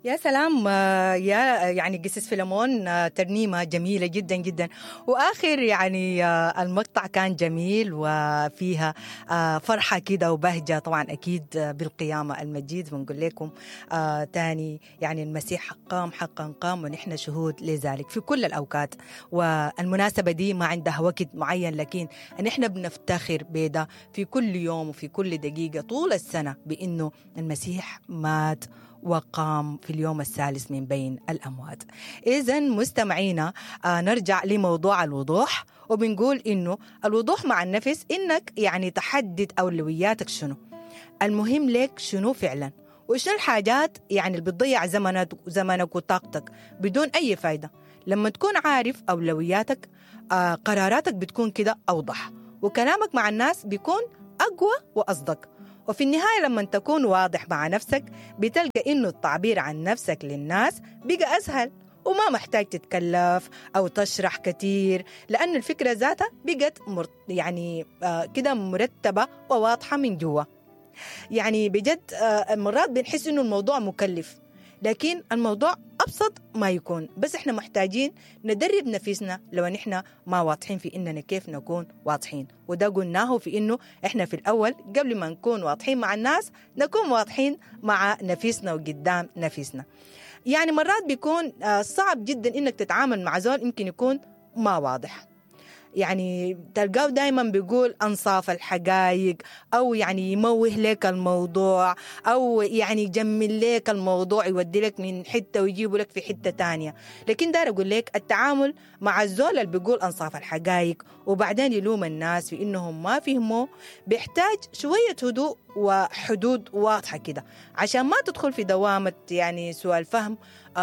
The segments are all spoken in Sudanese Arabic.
يا سلام، يا يعني قسيس فيلمون، ترنيمة جميلة جدا جدا، وآخر يعني المقطع كان جميل وفيها فرحة كده وبهجة، طبعا أكيد بالقيامة المجيد. بنقول لكم تاني يعني المسيح قام حقا قام، ونحن شهود لذلك في كل الأوقات، والمناسبة دي ما عندها وقت معين، لكن نحن بنفتخر بده في كل يوم وفي كل دقيقة طول السنة بأنه المسيح مات وقام في اليوم الثالث من بين الأموات. إذا مستمعينا نرجع لموضوع الوضوح، وبنقول إنه الوضوح مع النفس إنك يعني تحدد أولوياتك شنو، المهم لك شنو فعلا، وشنو الحاجات يعني اللي بتضيع زمنك وطاقتك بدون أي فايدة. لما تكون عارف أولوياتك قراراتك بتكون كده أوضح، وكلامك مع الناس بيكون أقوى وأصدق. وفي النهاية لما تكون واضح مع نفسك بتلقى إنه التعبير عن نفسك للناس بقى أسهل، وما محتاج تتكلف أو تشرح كتير، لأن الفكرة ذاتها بقت يعني كده مرتبة وواضحة من جوا. يعني بجد مرات بنحس إنه الموضوع مكلف، لكن الموضوع أبسط ما يكون، بس إحنا محتاجين ندرب نفسنا لو نحن ما واضحين في إننا كيف نكون واضحين. وده قلناه في إنه إحنا في الأول قبل ما نكون واضحين مع الناس نكون واضحين مع نفسنا وقدام نفسنا. يعني مرات بيكون صعب جدا إنك تتعامل مع زول يمكن يكون ما واضح، يعني تلقاه دايما بيقول أنصاف الحقائق، أو يعني يموه لك الموضوع، أو يعني يجمل لك الموضوع، يودي لك من حتة ويجيبه لك في حتة تانية. لكن دار أقول لك التعامل مع الزول اللي بيقول أنصاف الحقائق وبعدين يلوم الناس في إنهم ما فهموا بيحتاج شوية هدوء وحدود واضحة كده، عشان ما تدخل في دوامة يعني سوء الفهم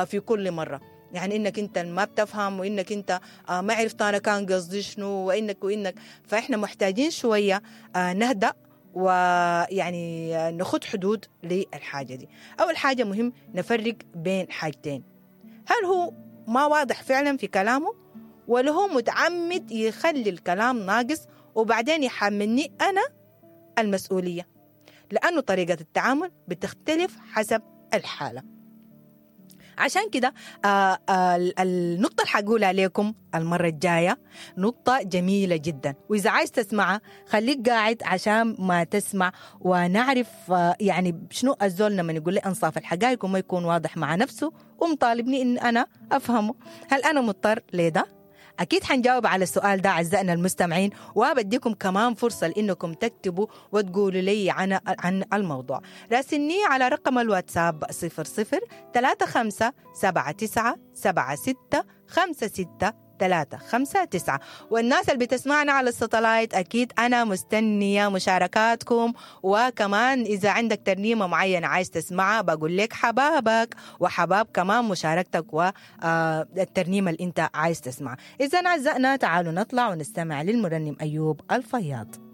في كل مرة. يعني إنك أنت ما بتفهم، وإنك أنت ما عرفت أنا كان قصدي شنو، وإنك فإحنا محتاجين شوية نهدأ ويعني نخد حدود للحاجة دي. أول حاجة مهم نفرق بين حاجتين، هل هو ما واضح فعلا في كلامه، ولا هو متعمد يخلي الكلام ناقص وبعدين يحملني أنا المسؤولية، لأنه طريقة التعامل بتختلف حسب الحالة. عشان كده النقطة اللي حقولها لكم المرة الجاية نقطة جميلة جدا، وإذا عايز تسمعها خليك قاعد عشان ما تسمع ونعرف يعني شنو الزول لما يقول لي أنصاف الحقائق وما يكون واضح مع نفسه ومطالبني إن أنا أفهمه. هل أنا مضطر لده؟ أكيد حنجاوب على السؤال ده أعزائنا المستمعين، وبديكم كمان فرصة لأنكم تكتبوا وتقولوا لي عن الموضوع. راسلني على رقم الواتساب 00 35 79 76 56 359. والناس اللي بتسمعنا على الستلايت أكيد أنا مستنية مشاركاتكم، وكمان إذا عندك ترنيمة معينة عايز تسمعها بقول لك حبابك وحباب كمان مشاركتك والترنيمة اللي أنت عايز تسمعها. إذا أعزائنا تعالوا نطلع ونستمع للمرنم أيوب الفياض.